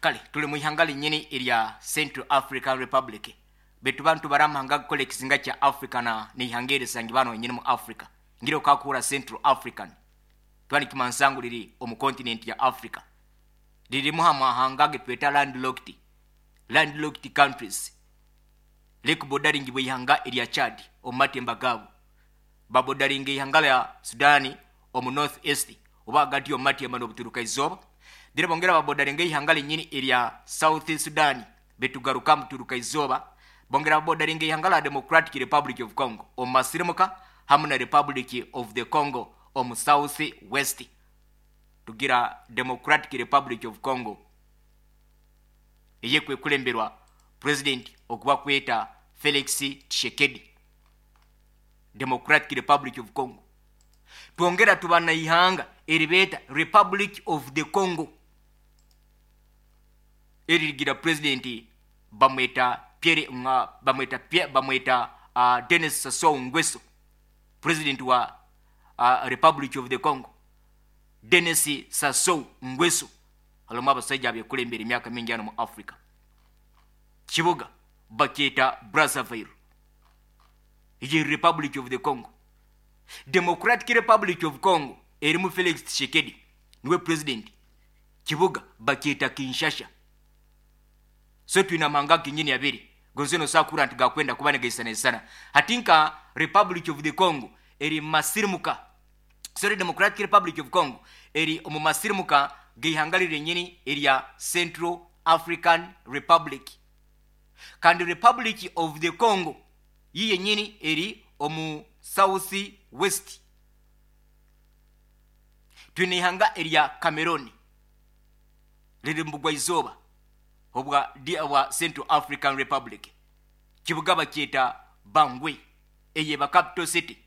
Kale tuli mu ihanga linyini erya Central African Republic, betu bantu bari amahanga gakukora ekizinga kya Africa na neihanga erisangi bano wenyini mu Africa. Ngira okakuhurra Central African, tuba nikimansa ngu riri omu continent ya Africa. Ririmu ha mahanga agetweta landlocked, landlocked countries. Rikubodaringibwa eihanga erya Chad omu matemba gaabo. Babodaringa eihanga rya Sudan omu North East oba ahagati omu matemba n'obuturuka izooba. Then bongera babodaringa eihanga rinyini erya South Sudan betugaruka omu buturuka izooba. Bongera babodaringa eihanga rya Democratic Republic of Congo omu masirimuka hamu na Republic of the Congo omu South West. Tugira Democratic Republic of Congo eyekwekuremberwa President ogu bakweta Felix Tshisekedi. Democratic Republic of Congo. Twongera tuba na ihanga eribeeta Republic of the Congo eririgira President bamweta Pierre bamweta Pierre, bamweta Denis Sassou Nguesso, President wa Republic of the Congo. Denis Sassou Nguesso harimu abasaija abekurembera emyaka mingi hanu mu Africa. Kibuga bakyeta Brazzaville. Egi eri Republic of the Congo. Democratic Republic of Congo erimu Felix Tshisekedi niwe President. Kibuga bakyeta Kinshasha. So twine amahanga genyini abiri gonze nosobola kuhurra nti gakwenda kuba nigaisanaisana. Hati nka Republic of the Congo eri mumasirimuka, sorry, Democratic Republic of Congo eri omu masirimuka g'eihanga riri erya Central African Republic. Kandi Republic of the Congo yi yenyini eri omu South West. Twine ihanga erya Cameroon riri mu bugwa-izooba obwa obwa Central African Republic. Kibuga bakyeta Bangui, eyeba capital city.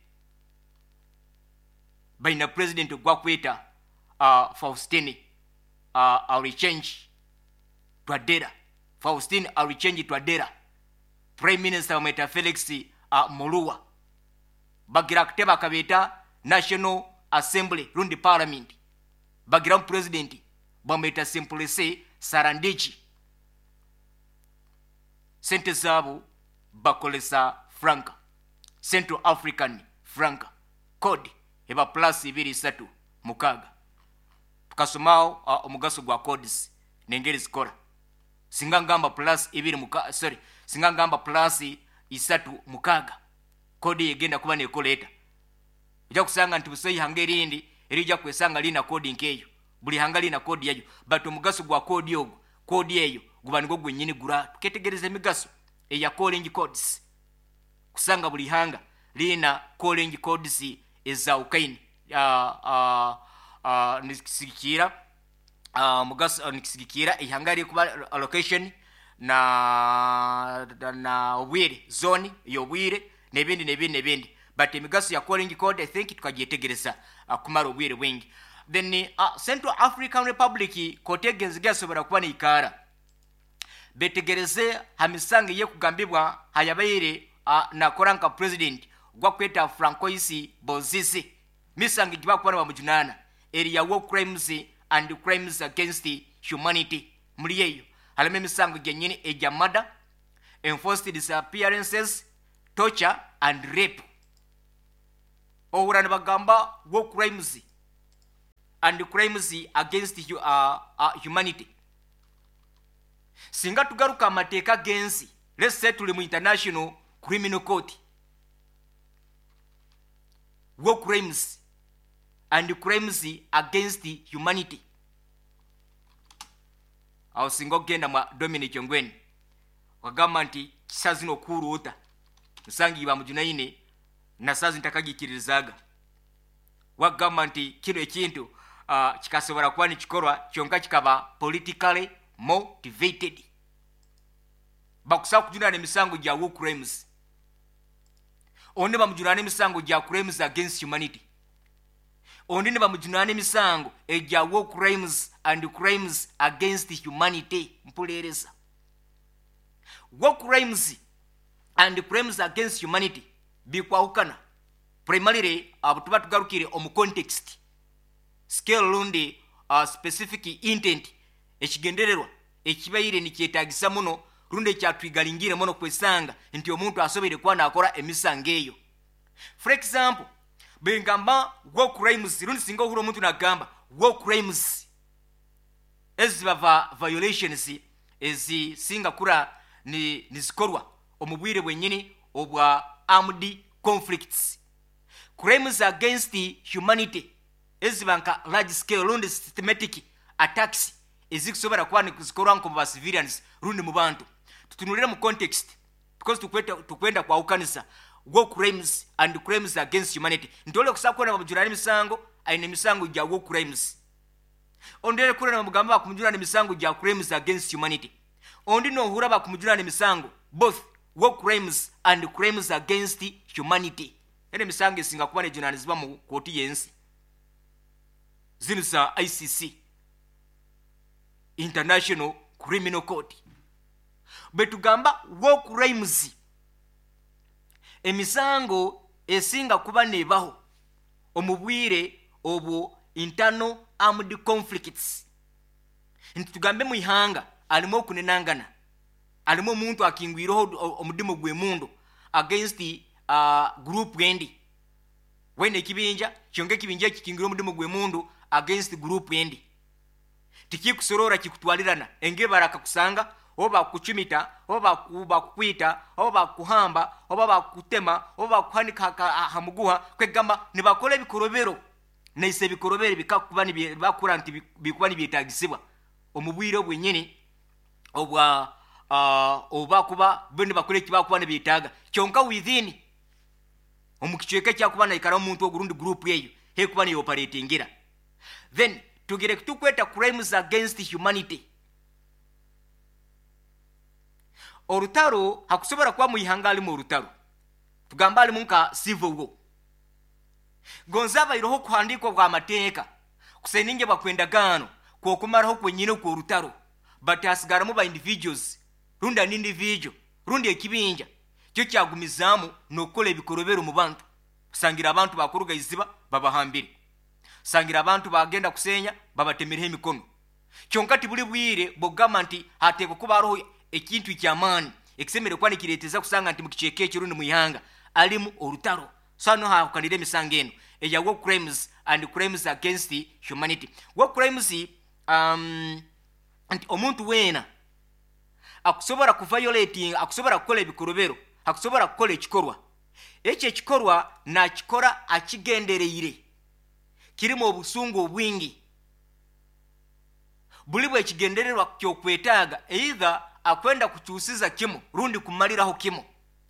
Baina president ogwakweta Faustin Archange Touadera. Faustin Archange Touadera. Prime Minister bamweta Felix Mulua. Bagira akatebe akabeeta National Assembly rundi Parliament. Bagiramu president bamweta Simplice Sarandiji. Sente zaabo bakolesa franca, Central African franca. Code eba +236. Tukasomaho omugaso gwa codes n'engeri zikora. Singa ngamba plus ibiri muka, sorry, singa ngamba +36, kodi egenda kuba nekola eta? Ojja kusanga nti busa ihanga erindi erijja kwesanga lina kodi nkeyo. Buli hanga lina kodi yayo, but omugaso gwa kodi ogwo, kodi eyo guba nigwo gwenyini gura. Tuketegereza emigaso eya calling codes, kusanga buli hanga lina calling codes ezawukaine. Nikisigikira mugaso, nikisigikira ihanga rikuba location na obwire, zone y'obwire, n'ebindi n'ebindi n'ebindi. But emigaso ya calling code, I think tukagyetegereza kumara obwire bwingi. Then Central African Republic kotegenzi gasobora kuba neikara betegereze ha misango eyekugambibwa hayabaire nakora nka president gwakweta Francois Bozize. Misango gibakuba nibamujunana eri ya war crimes and crimes against humanity. Muri eyo harimu emisango gyenyini egya murder, enforced disappearances, torture and rape. Ohura nibagamba war crimes and crimes against humanity. Singa tugaruka amateeka g'ensi, let's say tuli mu International Criminal Court, war crimes and crimes against humanity, aho singa okugenda mwa Dominic Ongwen okagamba nti kisa zino okuhuruuta nsangi bamujunaine na saazi ntakagikiririzaaga, wagamba nti kino ekintu kikasobora kuba nikikorwa kyonka kikaba politically motivated. Bakusaba kujunana emisango gya war crimes, ondi bamujunana emisango gya crimes against humanity, ondi nibamujunana emisango egya war crimes and crimes against humanity. Mpulereza, war crimes and crimes against humanity bikwahukana primarily abo tuba tugarukire omu context, scale rundi specific intent, ekigendererwa. Ekibaire nikyetagisa muno rundi ekyatwigalingire muno kwesanga nti omuntu asoboire kuba nakora emisango eyo. For example, bwengamba war crimes, rundi singa ohura omuntu nagamba war crimes, eziba violations ezisinga kura nizikorwa omu bwire bwenyini obwa armed conflicts. Crimes against humanity eziba nka large scale rundi systematic attacks ezikusobora kuba nizikorwa nko mu ba civilians rundi mu bantu. Tutunulire mu context, because tukwenda kwawukanisa war crimes and crimes against humanity. Ntole kusaba kuona bamujurana emisango, aine emisango gya war crimes. Ondere kura na mugamba bakumujurana emisango gya crimes against humanity. Ondi nohura bakumujurana emisango both war crimes and crimes against humanity. Ene emisango esinga kuba nejunanizibwa mu kooti y'ensi zino za ICC, International Criminal Court. Bwetugamba war crimes, emisango esinga kuba nebaho omu bwire obwo internal armed conflicts. Nti tugambe mu ihanga alimu okunenangana, alimu omuntu akingwireho omudimu gw'emundu against group endi, wene ekibinja kyonka ekibinja eki kikingwire omudimu gw'emundu against group endi, tikikusorora kikutwalirana. Enge barakakusanga oba bakucumita oba bakukwita oba bakuhamba oba bakutema oba bakuhanika ha muguha, kwegamba nibakora ebikorobero naise ebikorobero bikakuba bakura nti bikuba nibyetagisibwa omu bwire obwenyini obwa oba kuba bo nibakora eki bakuba nibyetaaga. Kyonka within omu kicweka ekyakuba naikara omuntu ogurundi group eyo hekuba niyo operatingira. Then tugire tukweta crimes against humanity. Orutaro hakusobora kuba mu ihanga alimu orutaro, tugamba alimu nka civil war, gonza abaireho kuhandikwa bwa mateeka kuseninge bwakwendagaano kwokumaraho kwenyine kworutaro, but hasigaramu ba individuals rundi an individual rundi ekibinja kyo kyagumizaamu n'okukola ebikorobero mu bantu. Sangira abantu bakuruga iziba babahambire, sangira abantu bagenda kusenya babatemereho emikono. Kyonka tibuli bwire bwogamba nti hateekwa kuba hariho ekintu ekyamaani ekisemere kuba nikireeteza kusanga nti mu kicweka ekyo rundi mu ihanga alimu orutaro. So hano hahukanire emisango eno eya war crimes and crimes against humanity. War crimes, nti omuntu weena akusobora kuviolating, akusobora kukola ebikorobero, akusobora kukola ekikorwa ekyo, ekikorwa nakikora akigendereire, kirimu obusungu obwingi, buli bwekigendererwa kyokwetaaga either akwenda kukyusiza kimu rundi kumaliraho kimu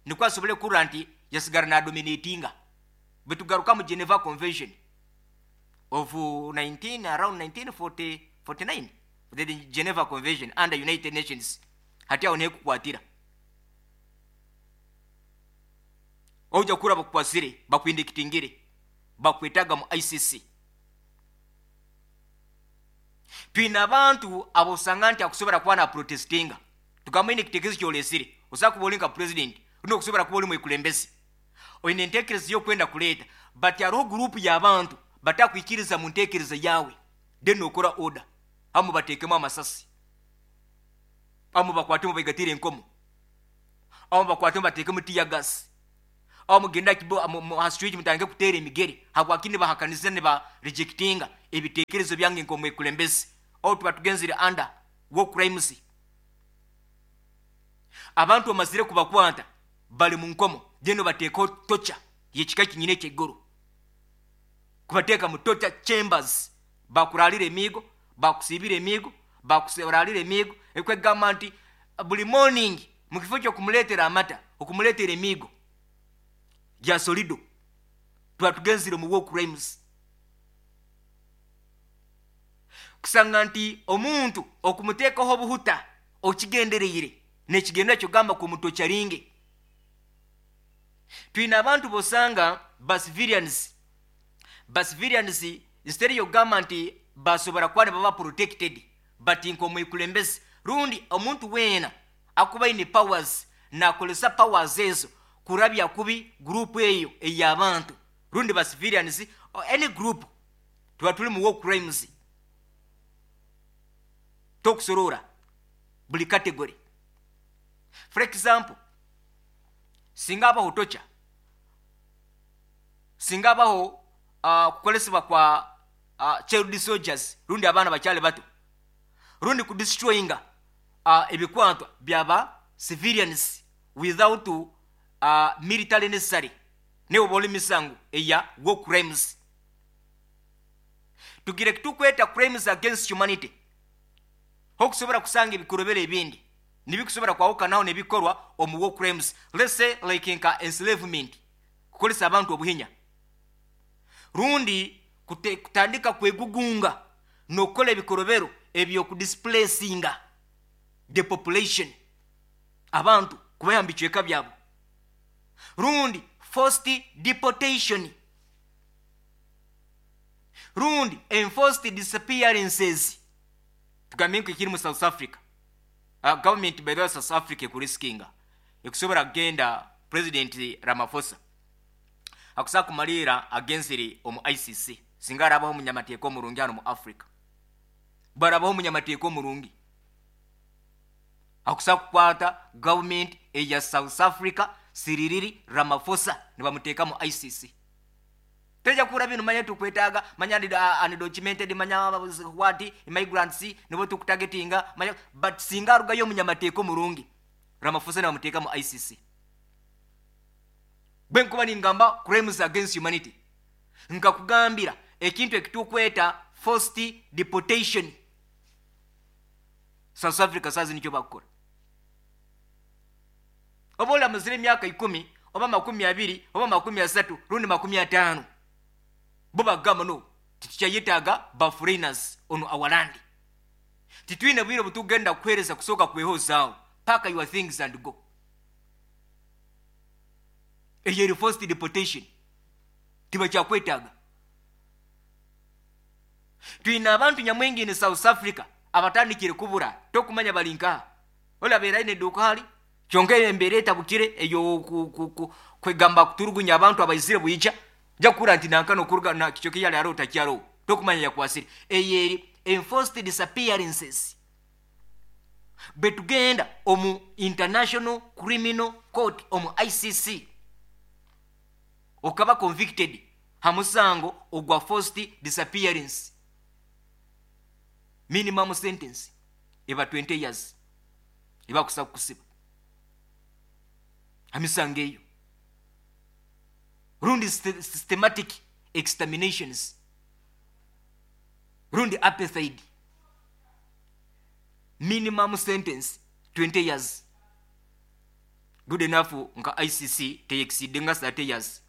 nikwo asobole kurra nti yasigara nadominatinga. Bwetugaruka mu Geneva Convention of 19 around 1949, the Geneva Convention under United Nations, hati aho nekukwatira oja kura bakukwasire bakwindikitingire bakwetaga mu ICC. Twina abantu abosanga nti akusobora kuba na protestinga, tugamba ine ekitekerezo kyolesire osaba kuba oli nka president rundi okusobora kuba oli mwekulembezi oine enteekereza y'okwenda kuleeta, but hariho gurupu y'abantu batakwikiriza mu nteekereza yawe, then nokora order amu bateekemu amasasi, amu bakwatemu baigatire enkomo, amu bakwatemu bateekemu tear gas, amu mugenda ha street mutandike kuteera emigere habwaki nibahakaniza niba rejectinga ebiteekerezo byange nk'omwekulembezi. Aho tuba tugenzire under war crimes. Abantu bamazire kubakwata bali mu nkomo, then bateekaho torture y'ekika kinyine ekyeiguru, kubateeka mu torture chambers, bakuralira emiigo, bakusiibira emiigo, bakuralira emiigo, ekwegamba nti buli morning mu kifo ky'okumuleetera amata okumuleetera emiigo gya solido. Tuba tugenzire mu war crimes. Kusanga nti omuntu okumuteekaho obuhuta okigendereire nekigendera kyogamba ku muntu okyaringe. Twina abantu bosanga ba civilians, ba civilians instead yogamba nti basobora kuba nibaba protected, but nk'omwekulembezi rundi omuntu weena akuba aine powers nakolesa powers ezo kurabya kubi group eyo ey'abantu rundi ba civilians or any group, tuba tuli mu war crimes. Tokusorora. Buli category. For example, singa abaho torture, singa abaho kukolesebwa kwa child soldiers, rundi abaana bakyali bato, rundi kudestroyinga ebikwatwa byaba civilians without military necessary, niwe oba oli misango eya war crimes. Tugire tukweta crimes against humanity, hokusobora kusanga ebikorobero ebindi nibikusobora kwawukanaho nebikorwa omu war crimes. Let's say like nka enslavement, kukolesa abantu obuhinya, rundi kutandika kwegugunga n'okukola ebikorobero ebyokudisplacinga the population, abantu kubayamba bicweka byabo, rundi forced deportation, rundi enforced disappearances. Tugambe nko ekiri mu South Africa. Government, by the way, South Africa ekuriskinga ekusobora kugenda. President Ramaphosa akusa kumalira agenzere omu ICC. Singa arabaho omunyamateeka omurungi hano mu Africa, barabaho omunyamateeka omurungi akusa kukwata government eya South Africa, Cyril Ramaphosa, nibamuteeka mu ICC. Teja kura bino, manya tukwetaaga, manya undocumented, manya what, immigrants nibo tukutagetinga, manya. But singa arugayo omunyamateeka omurungi, Ramaphosa nibamuteeka mu ICC. Bwe nkuba ningamba crimes against humanity, nkakugambira ekintu ekitukweta forced deportation. South Africa sazi nikyo bakukora. Oba olamuzire emyaka 10 oba 20 oba 30 rundi 50, bo bagamba, "No, titukyayetaaga ba foreigners on our land. Titwine bwire butugenda kuhereza kusooka kwehozaawo. Pack your things and go." Eyo eri forced deportation, tibakyakwetaaga. Twine abantu nyamwingi ni South Africa abatandikire kubura, tokumanya bali nkaha. Olabeera aine eduuka hali, kyonka embeera etabukire eyo kwegamba kuturugunya abantu abaizire bwija, nja kukura nti nankano okuruga na kicyoka yali ariho takyariho, tokumanya yakwasire. Eyo eri enforced disappearances. Bwe tugenda omu International Criminal Court, omu ICC, okaba convicted ha musango ogwa forced disappearance, minimum sentence eba 20 years, eba kusa kukusiba ha misango eyo, rundi systematic exterminations, rundi apartheid, minimum sentence 20 years. Good enough nka ICC teyexceed nga 30 years.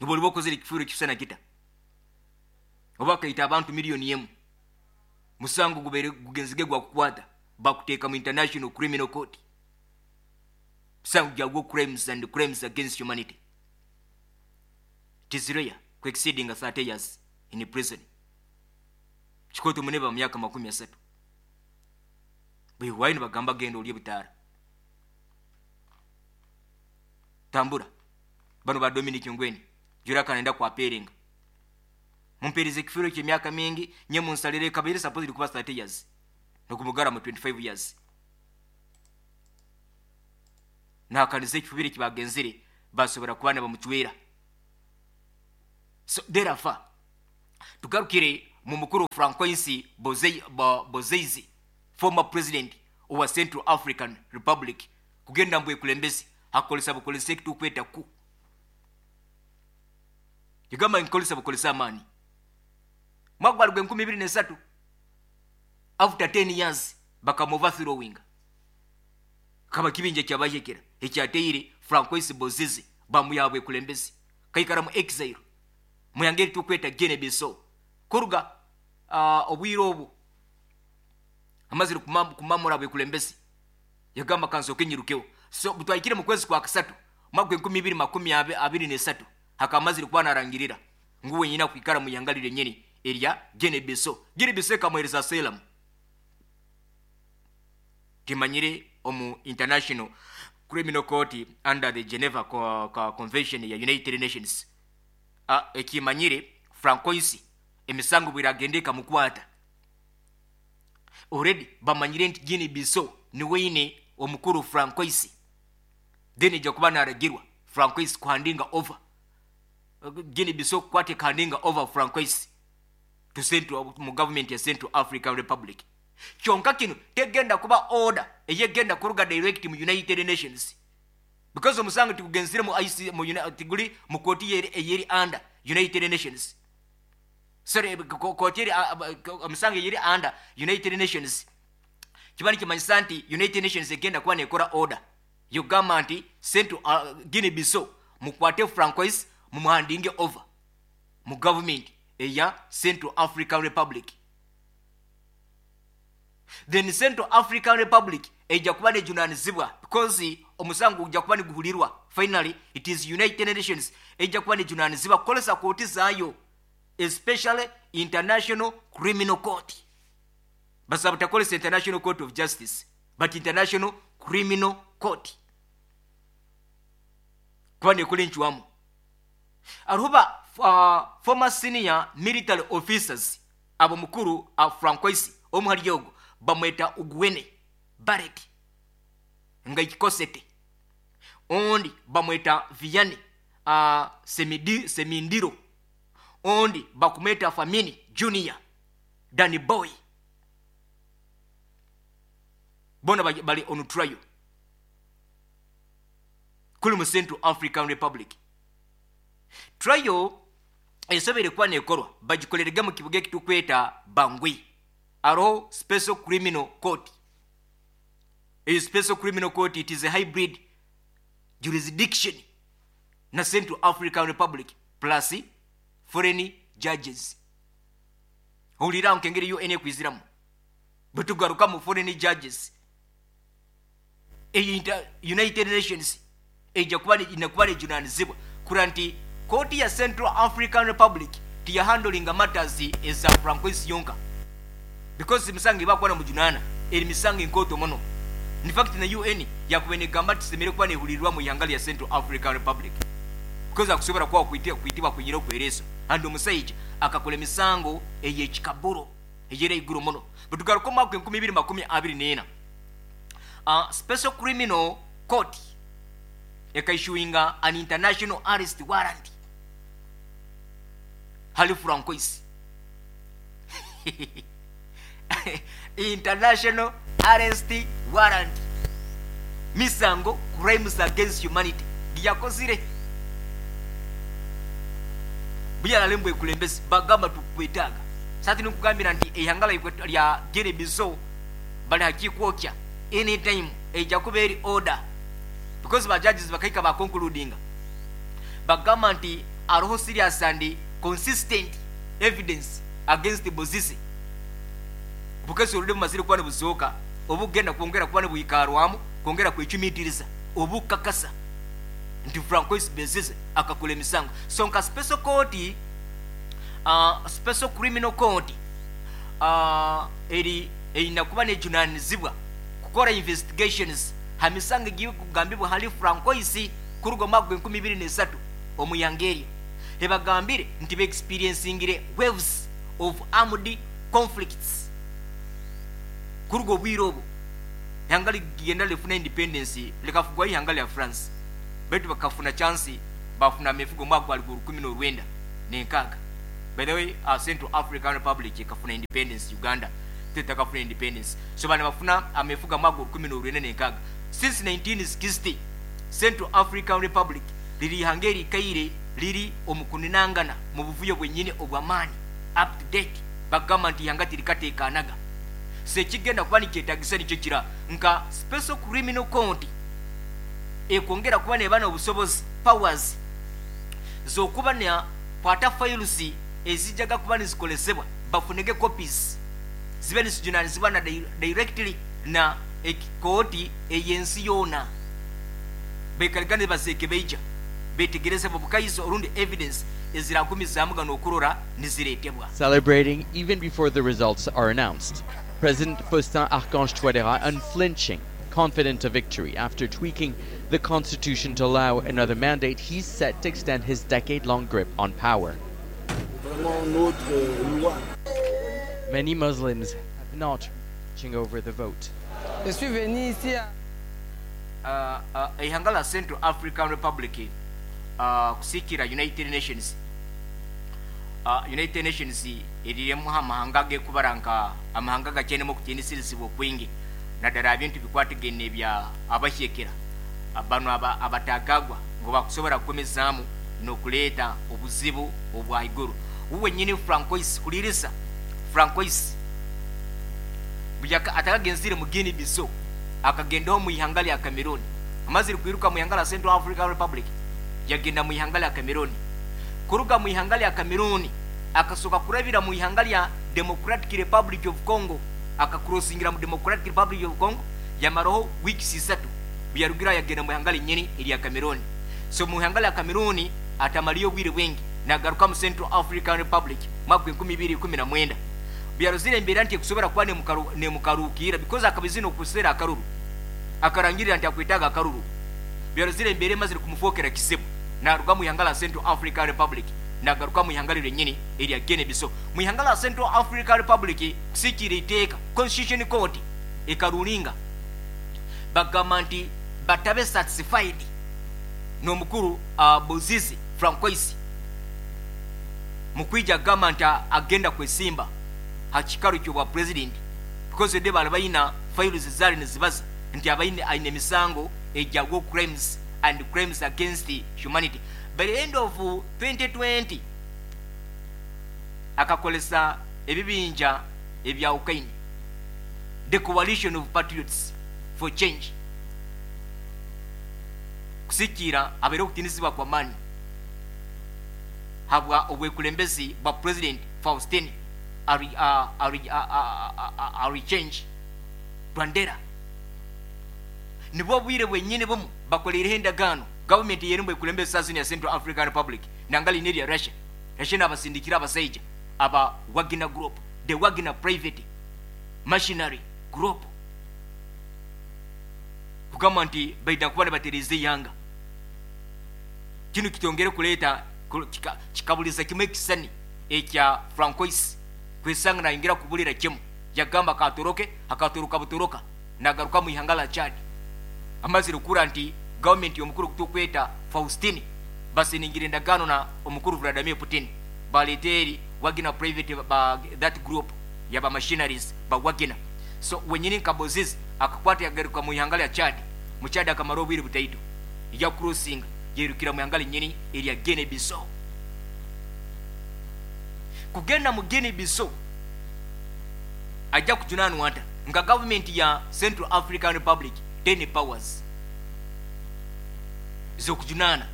Oba oliba okozere ekifuuro ekisana kita, oba akaita abantu 1 million, musango gubeere gugenzige gwakukwata, bakuteeka mu International Criminal Court, musango gya war crimes and crimes against humanity. It is rare ku exceeding 30 years in prison. Kikoto muneba mu myaka 30, bwewayi nibagamba, "Genda olye butaara, tambura." Bano ba Dominic Ongwen juraka nenda kwaperenga, mumpereza ekifiiro kyemyaka mingi nye munsalire kabaire supposed kuba 30 years, nokumugara mu 25 years, nakaniza ekifubiro kibagenzere basobora kuba nibamucwera. So therefore, tugarukire mu mukuru Francois Bozeizi, former president owa Central African Republic, kugenda mbwe kulembezi hakolesa bukolesa ekitukweta ku yagamba nkolesa bukolesa amaani. Mwaka gwali gwe 2003, after 10 years bakamuoverthrowing. Kaba kibinja kyabayekera ekyateire Francois Bozize, bamuyabwe kulembezi, kaikara mu exile muyangeri tukweta Guinea Bissau. Kuruga obwire obu amazire kumamura bwekulembezi, yagamba, "Kansooke nyirukeho." So butwayikire mu kwezi kwa kasatu mwaka 2023, hakamazire kuba narangirira ngu wenyine kwikara mu yangalire nyeni erya Guinea Bissau. Guinea Bissau ekamuhereza asylum. Timanyire omu International Criminal Court under the Geneva Convention ya United Nations, ekimanyire Francois emisango bwiragenda ekamukwata. Already bamanyire nti Guinea Bissau niwe omukuru Francois, then ejja kuba naragirwa Francois kuhandinga over Guinea Bissau, kukwata ekahandinga over Francois to Central, mu government ya Central African Republic. Kyonka kino tegenda kuba order eyegenda kuruga direct mu United Nations, because omusango tigugenzire mu IC, mu tiguli mu kooti eyeri under United Nations. Sorry, kooti eri, omusango eyeri under United Nations, kiba nikimanyisa nti United Nations egenda kuba nekora order yogamba nti Central, Guinea Bissau mukwate Francois, mumuhandinge over mu government eya Central African Republic. Then Central African Republic ejja kuba nejunanizibwa, because omusango gujja kuba niguhulirwa. Finally it is United Nations ejja kuba nejunanizibwa kukolesa kooti zaayo, especially International Criminal Court. Basaba takolesa International Court of Justice, but International Criminal Court kuba nekola enkiwamu. Aruba former senior military officers abo mukuru Francois omuhali ogo bamweta Ugwene Barrett nga ikikosete, ondi bamweta Vianney Semindiro, ondi bakumweta Famini Junior Danny Boy. Bona bali on trial kuli mu Central African Republic. Trial esobere kuba nekorwa bagikolerege mu kibuga ekitukweta Bangui, aro Special Criminal Court. A Special Criminal Court, it is a hybrid jurisdiction na Central African Republic plus foreign judges. Hulira nkengeri UN ekwiziramu bwetugaruka mu foreign judges. United Nations ejja kuba inakuba nejunanizibwa kura nti kooti ya Central African Republic tiyahandlinga matters eza Francois yonka, because misango ebakuba na mujunana eri misango enkoto muno. In fact na UN yakuba negamba nti kuba nehulirwa mu ihanga lya Central African Republic, because akusobola kuba kuitibwa kunyira okwereso and omusajja akakola emisango ey'ekikaburo eyera iguru muno. Bwetugaruka mu mwaka 2024, Special Criminal Court ekaissuinga an international arrest warrant hali Francois. International arrest warrant, misango crimes against humanity giyakozire buyalale ekulembezi bagamba tukwetaaga. Sati nikugambira nti eihanga lya Guinea Bissau bali hakikwokya anytime ejja kuba eri order, because ba judges bakaika ba concludinga bagamba nti aroho serious and consistent evidence against Bozise, because oludde bumazire kuba nibuzooka obugenda kwongera kuba nibuikarwamu kwongera kwecumitiriza obukakasa nti Francois Bozise akakola emisango. So nka special court, Special Criminal Court, eri erina kuba nejunanizibwa kukora investigations ha misango egikugambibwa hali Francois kuruga mwaka 2023 omuyangeria. Ebagambire nti beexperiencingire waves of armed conflicts kuruga obwire obwo ihanga ligenda lifuna independence likafugwa ihanga lya France, baitu bakafuna chance bafuna amefugo mwaka gwa 1996. By the way, Central African Republic ekafuna independence, Uganda tetakafuna independence. So bana bafuna amefuga mwaka 1996. Since 1960 Central African Republic liri ihanga erikaire liri omukuninangana mu buvuyo bwenyini obw'amaani up to date. Bagamba nti ihanga tirikateekanaga. So ekigenda kuba nikyetagisa nikyo kira nka Special Criminal Court ekwongera kuba neba n'obusobozi powers z'okuba na kwata files ezijjaga kuba nizikolesebwa bafunege copies zibe nisijunanizibwa na directly na ekooti ey'ensi yoona, baikarigane bazeeke baija betegereze bukaiso orundi evidence eziragumizaamu gano okurora nizireetebwa. Celebrating even before the results are announced. President Faustin Archange Touadéra unflinching, confident of victory after tweaking the constitution to allow another mandate, he's set to extend his decade-long grip on power. Many Muslims have not Over the vote. Je suis venu ici à Ihanga la Central African Republic kusikira United Nations. United Nations eriremu amahanga gekubara nka amahanga gakyenemu okutiinisirizibwa okwingi, naddala ebintu bikwatagene bya abahyekera bano abatagagwa ngu bakusobora kukomezaamu n'okuleeta obuzibu obwaiguru. Uwe nyini Francois kulirisa Francois atakagenzire mu Guinea Bissau, akagendaho mu ihanga lya Cameroon. Amazire kwiruka mu ihanga lya Central African Republic, yagenda mu ihanga lya Cameroon. Kuruga mu ihanga lya Cameroon akasoka kurabira mu ihanga lya Democratic Republic of Congo, akakrosingira mu Democratic Republic of Congo, yamaraho weeks 3. Byarugira yagenda mu ihanga linyini erya Cameroon. So mu ihanga lya Cameroon atamaliyo obwire bwingi, nagaruka mu Central African Republic mwaka 2019. Byarozire embeera nti ekusobora kuba nemukaruukira, because akabizina okusera akaruru, akarangirira nti akwetaaga akaruru. Byarozire embeera emazire kumufokera kizibu, naruga mu ihanga la Central African Republic, nagaruka mu ihanga lyenyini erya Guinea Bissau. Mu ihanga la Central African Republic kusikira iteeka Constitution Court ekarulinga, bagamba nti batabe satisfied n'omukuru Bozize Francois mukwija agamba nti agenda kwesimba ha kikaro ky'obwa president, because de bali balina files zaali nezibaza nti abaine aine emisango egya war crimes and crimes against humanity. By the end of 2020 akakolesa ebibinja ebyawukaine, the Coalition of Patriots for Change, kusikiira abaire okutinisibwa kwa maani habwa obwekulembezi bwa President Faustin Archange Touadera. Nibwo bwire bwenyini bumu bakoleireho endagaano gavumenti yerimu ekulembeza sazini ya Central African Republic nangali nerya Russia. Russia nabasindikira abasaija aba Wagner Group, the Wagner Private Machinery Group, kugamba nti baida kuba nibatereza eihanga. Kinu kitongere kuleeta kikabuliza kimu ekisani ekya Francois kwesanga nayingira kubulira kimu, yagamba katoroke, akatoroka butoroka nagaruka mu ihanga la Chad. Amazire kura nti gavumenti y'omukuru kutukweta Faustin basiningira endagaano na omukuru Vladimir Putin, baleeta Wagner Private ba, that group yaba machineries ba Wagner. So wenyini nka Bozize akakwata yagaruka mu ihanga lya Chad. Mu Chad akamara obwire butaito, ya crossing yerukira mu ihanga linyini erya Guinea Bissau. Kugenda mu Guinea Bissau ajja kujunanwa ata nga gavumenti ya Central African Republic 10 powers z'okujunaana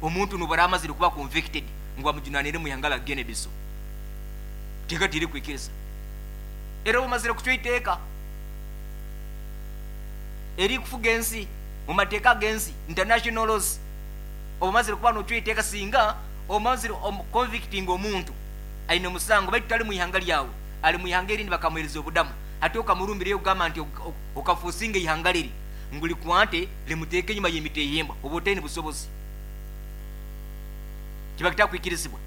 omuntu nubara amazire kuba convicted ngu bamujunanire mu ihanga la Guinea Bissau? Teeka tiri kwikiriza era bamazire kucwa iteeka eri kufuga ensi mu mateeka g'ensi, international laws. Obamazire kuba nocwa iteeka singa omazire convicting omuntu aine omusango, baitu tali mu ihanga lyawe, ali mu ihanga erindi, bakamuhereza obudamu, ate okamurumbirayo okugamba nti okafuusinga ihanga liri ngu likwate limuteeke enyuma y'emiteehemba, oba otaine busobozi, kiba kitakwikirizibwa.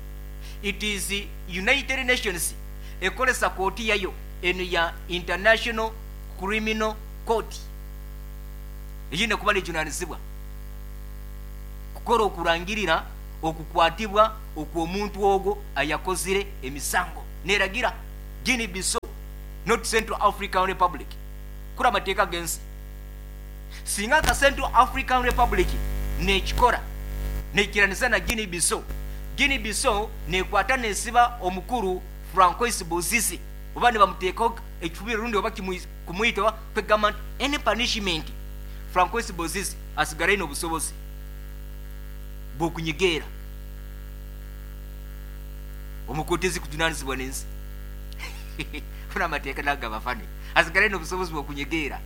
It is United Nations ekolesa kooti yayo eno ya International Criminal Court eyine kuba nejunanizibwa kukora okurangirira okukwatibwa okw'omuntu ogwo ayakozire emisango, neragira Guinea Bissau, not Central African Republic. Kura amateeka g'ensi, singa nka Central African Republic nekikora neikiraniza na Guinea Bissau, Guinea Bissau nekwata nesiba omukuru Francois Bozize oba nibamuteekaho ekifubiro rundi oba kumwita oba kwegamba nti any punishment, Francois Bozize asigara aine obusobozi bw'okunyegeera omukooti ezikujunanizibwa n'ensi. Funa amateeka nagabafane, asigara aine obusobozi bw'okunyegeera.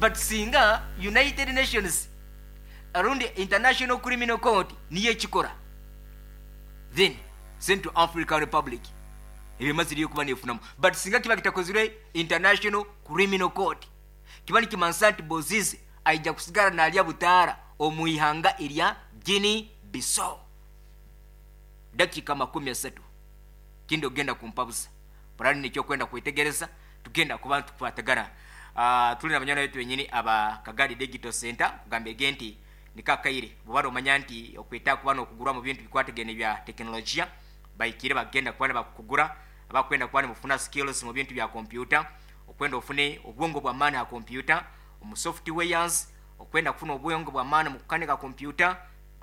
But singa United Nations rundi International Criminal Court niyo ekikora, then Central African Republic ebimaziriyo kuba nefunamu. But singa kiba kitakozirwe International Criminal Court, kiba nikimanisa nti Bozize aija kusigara nalya butaara omu ihanga erya Guinea Bissau. Dakika 30 kindi ogenda kumpabuza burani nikyo kwenda kwetegereza. Tugenda kuba nitukwatagana. Tuli na banywani baitu benyini aba Kagadi Digital Center, kugambege nti nikakaire bwobara omanya nti okweta kuba nokugura mu bintu bikwatagene bya tekinologiya, baikire bagenda kuba nibakugura. Abakwenda kuba nibufuna skills mu bintu bya kompyuta, okwenda ofune obwongo bw'amaani ha kompyuta omu softwares, okwenda kufuna obwongo bw'amaani mu kukanika kompyuta,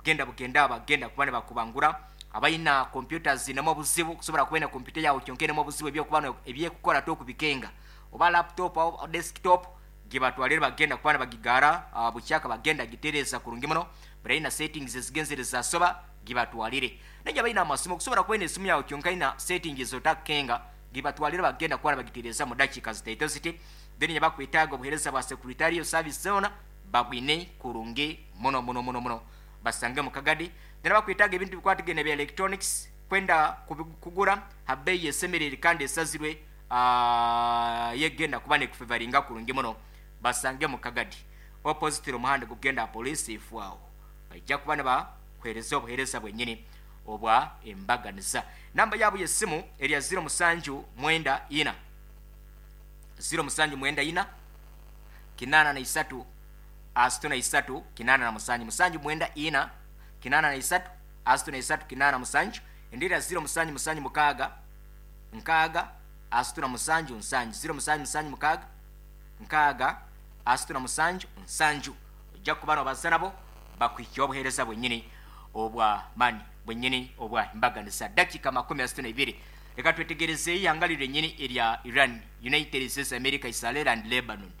genda bugenda bagenda kuba nibakubangura. Abalina kompyuta zinemu obuzibu, kusobola kuba ina kompyuta yawe kyonka enemu obuzibu ebyokuba ebyekukora tokubikenga, oba laptop oba desktop, gibatwalire bagenda kuba nibagigara bukyaka bagenda gitereza kurungi muno. Barina settings ezigenzere zasoba, gibatwalire. Naye balina amasimu, kusobola kuba ina esimu yawe kyonka ina settings otakenga, gibatwalire bagenda kuba nibagitereza mu dakiika zitaito ziti. Then yabakwetaaga obuheereza bwa secretarial service zona babwine kurungi muno muno muno muno, basange mu Kagadi. Then bakwetaaga ebintu bikwatagene bya electronics, kwenda kugura ha bbeeyi esemerere kandi esazirwe, yegenda kuba nekufevaringa kurungi muno, basange mu Kagadi opposite omuhanda gugenda police ifwawo. Bajja kuba nibakuhereza obuhereza bwenyini obwa embaganiza. Namba yabo y'essimu erya 0794 0794 83 63 87, 794 83 63 87. Endira 0776 6 37 7, 0776 6 37 7. Ojja kuba nobaza nabo bakuhikya obuheereza bwenyini obwa mani bwenyini obwa embaganiza. Dakika 32, reka twetegereze ihanga lyenyini erya Iran, United States America, Israel and Lebanon.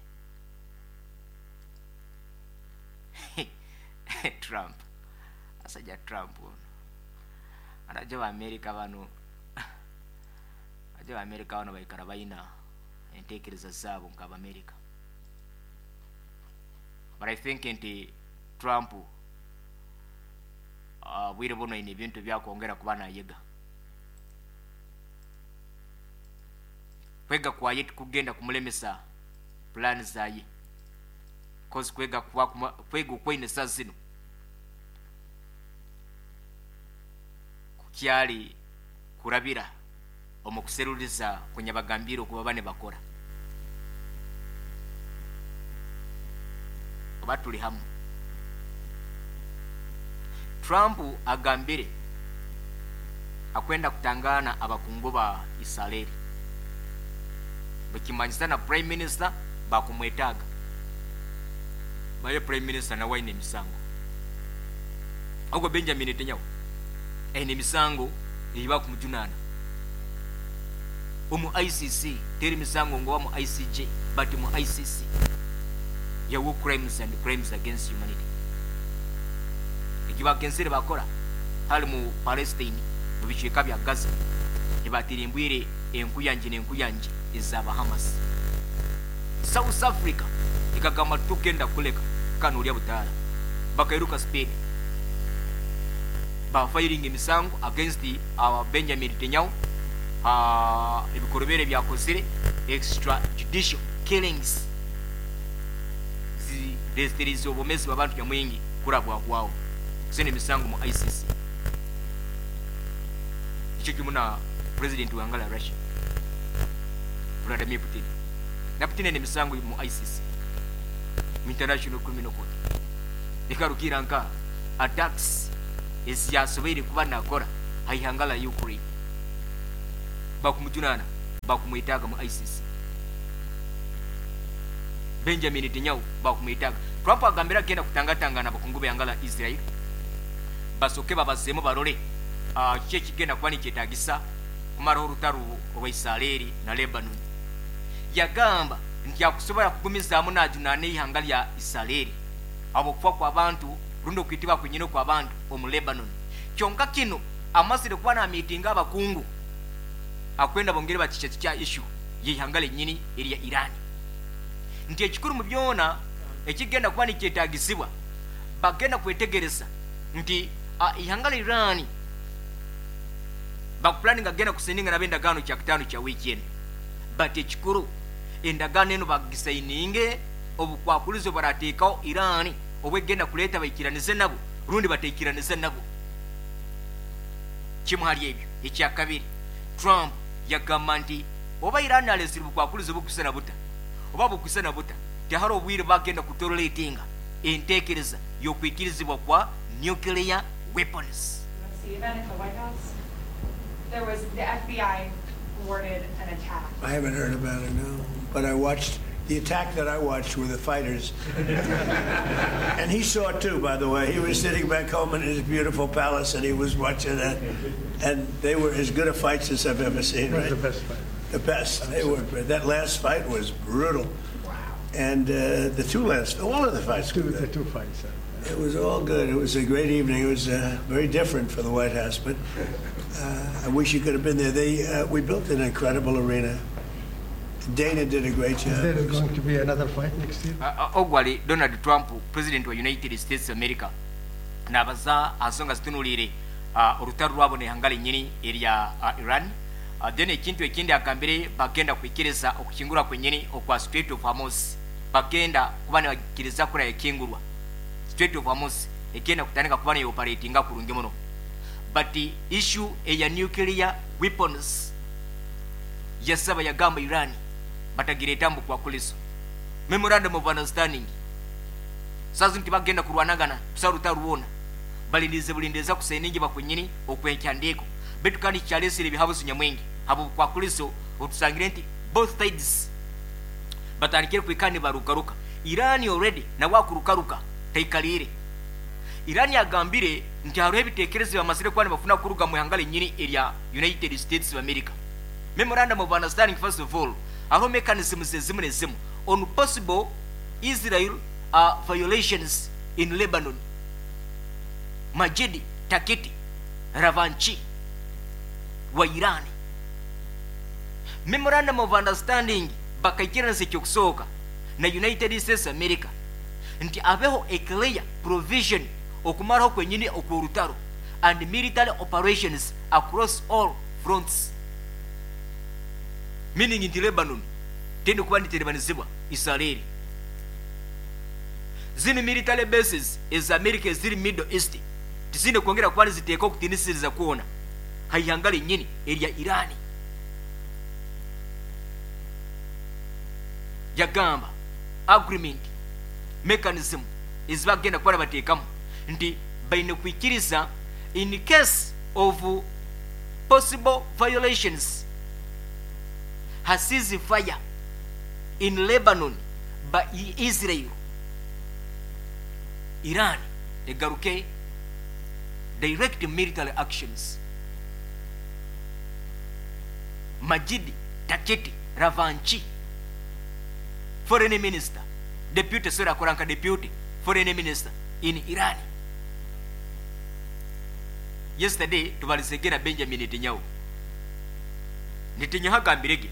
Trump, asajja Trump ono anaje ba America bano, aje ba America bano baikara bayina entekereza zaabo nk'Abamerika. But I think nti Trump bwire buno ine ebintu byakwongera kuba nayega. Kwega kwaye tikugenda kumulemesa plan zaye, cause kwega kuba kwega okwaine saa zino kukyali kurabira omu kuseruriza kunyabagambire okuba bane bakora oba tuli hamu. Trump agambire akwenda kutangana abakungu ba Israeli, bakimanyisa na prime minister bakumwetaga, baye prime minister nawe aine emisango. Ogwo Benjamin Netanyahu aine emisango eyibakumujunana omu ICC, teri misango ngoba mu ICJ, but mu ICC ya war crimes and crimes against humanity ekibagenzere bakora hali mu Palestine mu bicweka bya Gaza, ebatirimbwire enkuyanje n'enkuyanje ezaba Hamas. South Africa ikagamba tugenda kuleka kano ulya butaala, bakairuka Spain bafiring emisango against Benjamin Netanyahu, ebikorobere byakozire extrajudicial killings zireetereza obwomezi bw'abantu nyamwingi kurabwahwaho, zine emisango mu ICC. Ekyo kimu na president wa Angola Russia Vladimir Putin, na Putin ene emisango mu ICC, mu International Criminal Court, ekarukira nka attacks eziyasoboire kuba nakora haihanga la Ukraine, bakumujunana bakumwetaaga mu ICC. Benjamin Netanyahu bakumwetaaga. Trump agambira agenda kutangatangana abakungu b'ihanga la Israel, basoke babazeemu barole kiki ekigenda kuba nikyetagisa kumaraho orutaro rwa Israeli na Lebanon. Yagamba nti akusobola kugumizaamu najunaana ihanga lya Israeli habwokufa kw'abantu rundi okwitibwa kwenyini kw'abantu omu Lebanon. Kyonka kino amazire kuba namiitinga abakungu akwenda bongere bakikya kya issue y'ihanga lyenyini erya Iran, nti ekikuru mu byona ekigenda kuba nikyetagisibwa bagenda kwetegereza nti ihanga la Iran bakupulaninga agenda kusayininga nabo endagaano kyakutaano kya wiiki eno, but ekikuru endagaano eno bagisayininge obukwakulizo barateekaho Iran obwegenda kuleeta baikiranize nabo rundi bataikiranize nabo. Kimu hali ebyo. Ekyakabiri, Trump yagamba nti Oba Iran alesire bukwakulizo bukusana buta oba bukusana buta, tiharo obwire bagenda kutoleratinga entekereza y'okwikirizibwa kwa nuclear weapons. The event at the White House, there was the FBI thwarted an attack. I haven't heard about it, no. But I watched the attack that I watched were the fighters. And he saw it too, by the way. He was sitting back home in his beautiful palace and he was watching it. And they were as good a fights as I've ever seen, right? The best fight. The best. They were. That last fight was brutal. Wow. And the two last, all of the fights were The good. two fights. It was all good. It was a great evening. It was very different for the White House, but I wish you could have been there. We built an incredible arena. Dana did a great job. Is there going to be another fight next year? Ogwali Donald Trump, president wa United States of America, nabaza ansonga zitunuulire orutaro rwabo nehanga lenyini erya Iran. Then ekintu ekindi agambire bagenda kwikiriza okukingura kwenyini okwa Strait of Hormuz, bagenda kuba nibakiriza kura ekingurwa Strait of Hormuz egenda kutandika kuba neoperatinga kurungi muno. But the issue eya nuclear weapons yasaba yagamba Iran batagireta mbu kwakuliso memorandum of understanding sazi nti bagenda kurwanagana tusaruta ruwona balindirize bulindiriza kuseningi bakwenyini okwekyandiko betu kandi kyalesire ebihabuzo nyamwingi habo kwakuliso otusangire nti both sides batandikire kwikani barukaruka. Iran already nawe akurukaruka taikalire. Iran yagambire nti hariho ebitekerezo bamazire kuba nibafuna kuruga mu ihanga lenyini erya United States of America. Memorandum of understanding, first of all, hariho mechanisms ezimu nezimu on possible Israel violations in Lebanon. Majidi Takiti Ravanchi wa Iran, memorandum of understanding bakaikirana ekyokusooka na United States America nti abeho a clear provision okumaraho kwenyini okw'orutaro and military operations across all fronts, meaning nti Lebanon tende kuba niterebanizibwa Israeli. Zino military bases eza America eziri Middle East tizine kwongera kuba niziteeka okutinisiriza kwona haihanga lenyini erya Irani. Yagamba agreement mechanism ezibagenda kuba bateekamu nti baine kwikiriza in case of possible violations ha ceasefire in Lebanon by Israel, Iran egaruke direct military actions. Majid Taketi Ravanchi, foreign minister, deputy, sorry, akoranka deputy foreign minister in Iran. Yesterday tubalisegera Benjamin Netanyahu. Netanyahu agambirege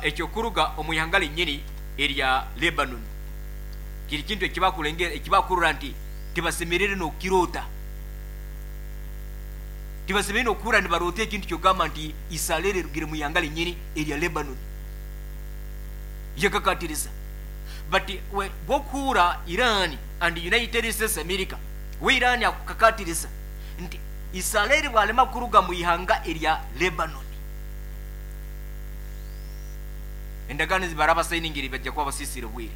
ekyokuruga omu ihanga lenyini erya Lebanon kiri kintu ekibakulengera ekibakurura nti tibasemerere n'okukirota, tibasemerere n'okukura nibarota ekintu kyogamba nti Israeli erugire mu ihanga lenyini erya Lebanon. Yakakatiriza but bwokuhura Iran and United States America, we Iran akukakatiriza nti Israeli bwalema kuruga mu ihanga erya Lebanon, endagaano zibaraba sayiningiri bajja kuba basisire bwire.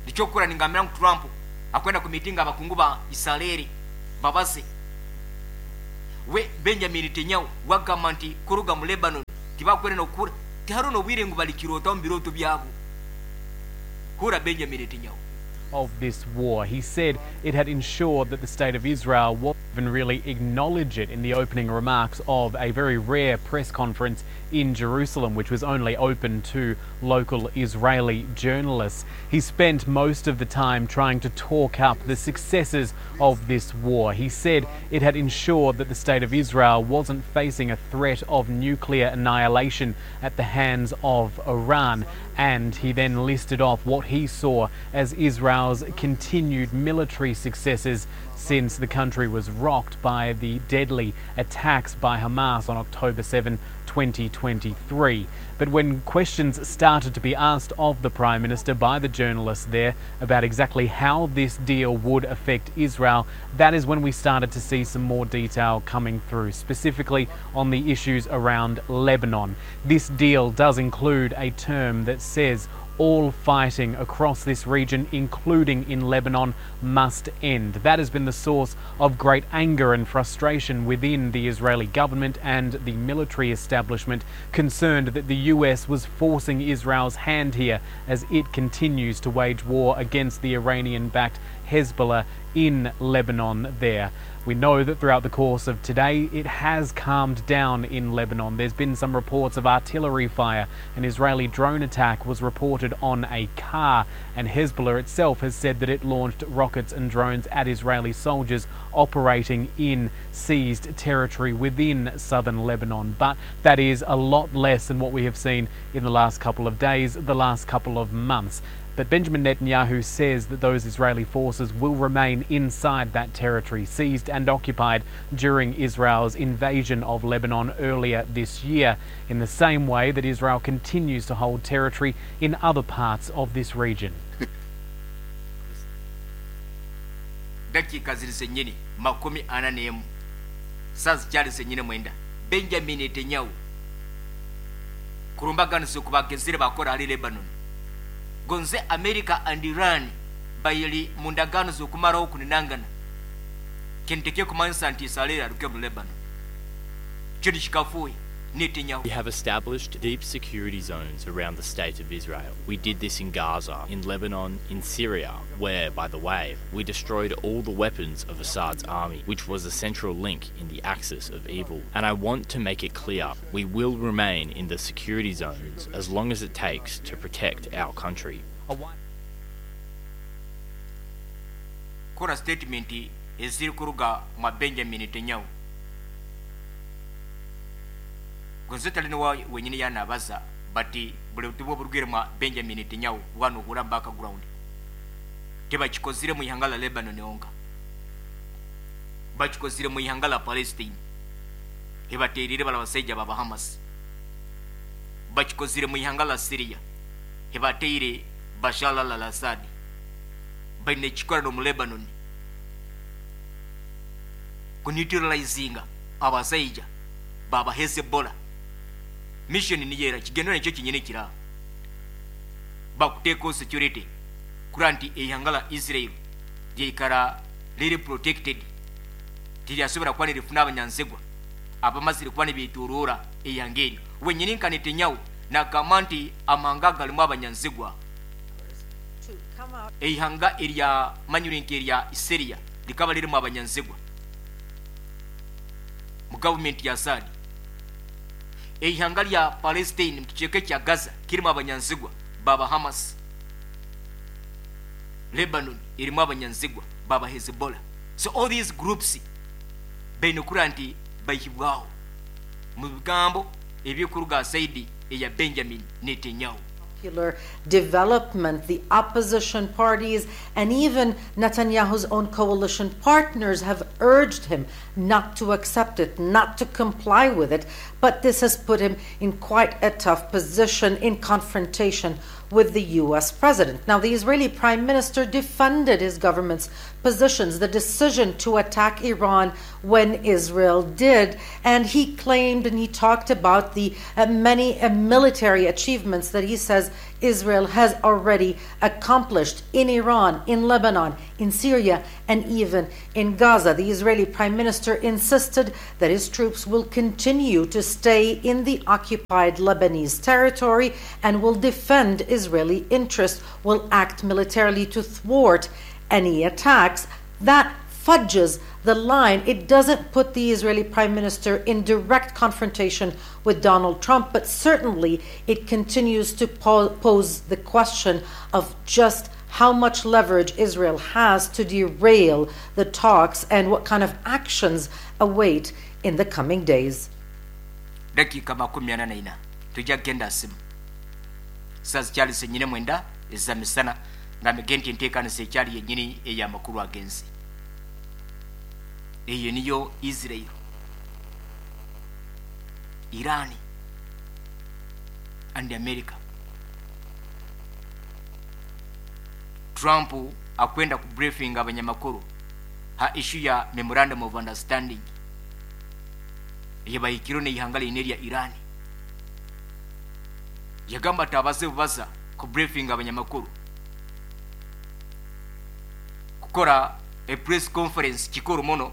Nikyokukora ningambira ngu Trump akwenda ku mitinga abakungu ba Israeli babase we Benjamin Netanyahu wagamba nti kuruga mu Lebanon tibakwere nokukura tihariho n'obwire ngu balikirota omu birooto byabo. Hura Benjamin Netanyahu. Of this war. He said it had ensured that the state of Israel won't even really acknowledge it in the opening remarks of a very rare press conference in Jerusalem, which was only open to local Israeli journalists. He spent most of the time trying to talk up the successes of this war. He said it had ensured that the state of Israel wasn't facing a threat of nuclear annihilation at the hands of Iran. And he then listed off what he saw as Israel's continued military successes since the country was rocked by the deadly attacks by Hamas on October 7, 2023. But when questions started to be asked of the Prime Minister by the journalists there about exactly how this deal would affect Israel, that is when we started to see some more detail coming through, specifically on the issues around Lebanon. This deal does include a term that says all fighting across this region, including in Lebanon, must end. That has been the source of great anger and frustration within the Israeli government and the military establishment, concerned that the US was forcing Israel's hand here as it continues to wage war against the Iranian-backed Hezbollah in Lebanon there. We know that throughout the course of today, it has calmed down in Lebanon. There's been some reports of artillery fire. An Israeli drone attack was reported on a car, and Hezbollah itself has said that it launched rockets and drones at Israeli soldiers operating in seized territory within southern Lebanon. But that is a lot less than what we have seen in the last couple of days, the last couple of months. But Benjamin Netanyahu says that those Israeli forces will remain inside that territory, seized and occupied during Israel's invasion of Lebanon earlier this year, in the same way that Israel continues to hold territory in other parts of this region. Dakiika ziri zennyini 41, saa zikyali zennyini 9. Benjamin Netanyahu kulumbaganiza okubagezere bakora ali Lebanon gonze America and Iran bayili mu ndagaano z'okumalawo okuninangana kintu kumanyisa nti Israel aluke mu Lebanon kiri kikafuuye. Netanyahu. We have established deep security zones around the state of Israel. We did this in Gaza, in Lebanon, in Syria, where, by the way, we destroyed all the weapons of Assad's army, which was a central link in the axis of evil. And I want to make it clear, we will remain in the security zones as long as it takes to protect our country. Kora statement eziri kuruga mwa Benjamin Netanyahu. Gonze talina wa wenyini yanabaza bati buli butumwa oburugire mwa Benjamin Netanyahu wano hura background tebakikozire mu ihanga la Lebanon onga, bakikozire mu ihanga la Palestine, hebaterire bala basajja baba Hamas, bakikozire mu ihanga la Syria, hebateire Bashar al-Assad, baine kikora no mu Lebanon kuneutralizinga abasajja baba Hezbollah. Mission ni yera kigendo nekyo kinyene kira bakuteko security kuranti ehanga la Israel lyikara liri protected tilyasobora kuba nirifuna abanyanzigwa abamazire kuba nibiturura ehanga eryo. Wenyini nka Netanyahu nagamba nti amahanga galimu abanyanzigwa, ehanga erya manyurinka erya Syria likaba lirimu abanyanzigwa mu government ya Assad, ehanga lya Palestine mu kicweka kya Gaza kirimu abanyanzigwa baba Hamas, Lebanon erimu abanyanzigwa baba Hezbollah. So all these groups baine kura nti baihibwaho mu bigambo ebyokuruga saidi eya Benjamin Netanyahu. Development, the opposition parties, and even Netanyahu's own coalition partners have urged him not to accept it, not to comply with it, but this has put him in quite a tough position in confrontation with the U.S. president. Now, the Israeli prime minister defended his government's positions, the decision to attack Iran when Israel did, and he claimed and he talked about the many military achievements that he says Israel has already accomplished in Iran, in Lebanon, in Syria, and even in Gaza. The Israeli prime minister insisted that his troops will continue to stay in the occupied Lebanese territory and will defend Israeli interests, will act militarily to thwart any attacks. That fudges the line. It doesn't put the Israeli prime minister in direct confrontation with Donald Trump, but certainly it continues to pose the question of just how much leverage Israel has to derail the talks and what kind of actions await in the coming days. Dakika 44 tujja kugenda simu saa zikyali zennyini 9 ezamisana nga migenti enteekanisa ekyali yennyini ey'amakulu ag'ensi. Eyo niyo Israel, Iran And America. Trump akwenda ku briefing abanyamakuru ha issue ya memorandum of understanding eyebahikiro neihanga line lya Iran. Yagamba ati abaze bubaza ku briefing abanyamakuru, kukora a press conference kikuru muno,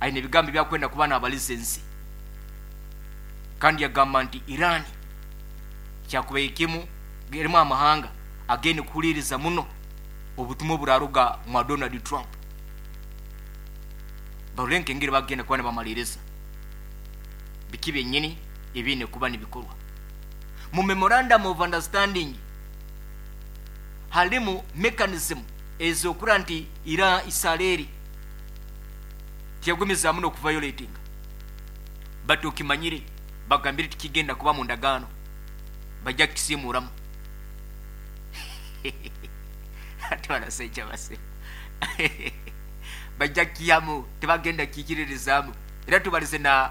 aine ebigambo byakwenda kuba n'abalisensi. Kandi yagamba nti Iran kyakuba ekimu erimu amahanga agende kuhuliriza muno obutumwa oburaruga mwa Donald Trump. Barole nkengeri bagenda kuba nibamaliriza biki byenyini ebine kuba nibikorwa. Mu memorandum of understanding halimu mechanism ezokura nti ira Israeli tiyagumizaamu n'okuviolatinga, but okimanyire bagambire tikigenda kuba mu ndagaano, bajja kukisiimuuramu. Ate barasajja base bajja kiyamu, tebagenda kikiririzaamu. Era tubalize na